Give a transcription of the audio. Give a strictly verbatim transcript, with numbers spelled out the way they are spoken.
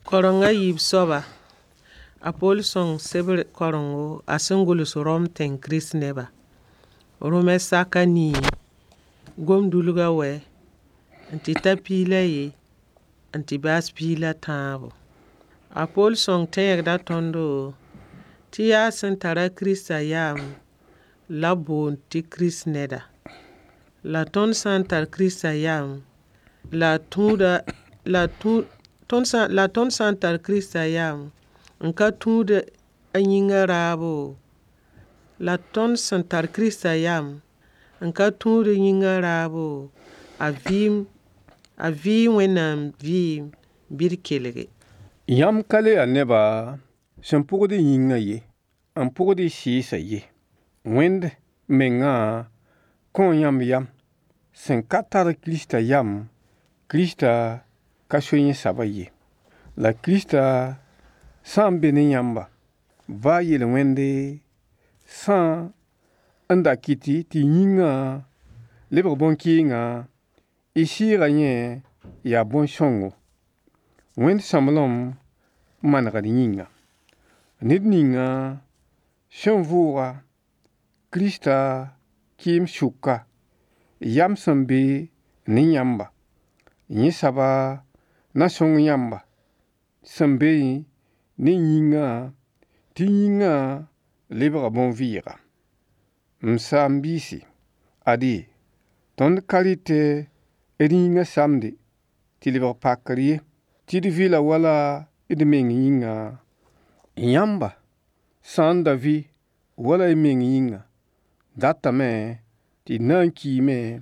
Kareng a yiib soaba, a Poll sõng sebr karengo a sẽn gʋls Rom tẽng krist-neba. Rʋmɛ sak a nii, gomdulga wɛ, n tɩ ta piig la aye n tɩ baas piig la tãabo. A Poll sõng tẽegda tõndo tɩ yaa sẽn tara Kirista yam la b boond tɩ krist-neda. La tõnd sã n tar Kirista yam, la a tũuda la tũ tõnd sã la tõnd sã n tar Kirista yam n ka tũud a yĩngã raabo, la tõnd sẽn tar Kirista yam n ka tũud yĩngã raabo, a vɩɩm a vɩɩ Wẽnnaam vɩɩm bɩ d kelge. Yãmb ka le yaa neba sẽn pʋgd y yĩngã ye, n pʋgd y sɩɩsã ye. Wẽnd mengã kõo yãmb yam. Sẽn ka tar Kirista yam, Kirista ka so yẽ soabã ye. La Kirista sã n be ne yãmba, baa yel-wẽnde sã n da kɩt tɩ y yĩngã lebg bõn-kɩɩnga, y sɩɩga yẽ yaa bõn-sõngo, Wẽnd sõmblem manegr yĩnga. Ned ninga sẽn vʋʋga Kirista kɩɩm sʋka, yam sẽn be ne yãmba, yẽ soaba na sõng yãmba sẽn be ne yĩngã tɩ yĩngã lebga bõn-vɩɩga. M saam-biisi, ade, tõnd ka rɩt d yĩngã samde tɩ lebg pakr ye, tɩ d vɩla wala d meng yĩnga. Yãmba sã n da vɩ wala y meng yĩnga, datame tɩ y na n kiime